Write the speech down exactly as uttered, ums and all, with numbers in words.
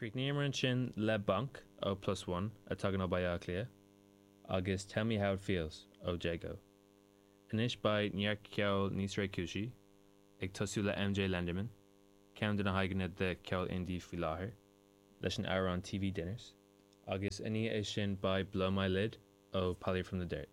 Chríochnaíomar ansin le Bonk ó Plus One a tagann ó Baile Átha Cliath, agus Tell Me How It Feels ó Jago. Anois beidh neart ceol níos réchúisí, ag tosú le MJ Lenderman, ceann de na haghaidheanna de cheol indie faoi láthair, leis an amhrán TV Dinners, agus i ndiaidh é sin beidh Blow My Lid ó Polly from the Dirt.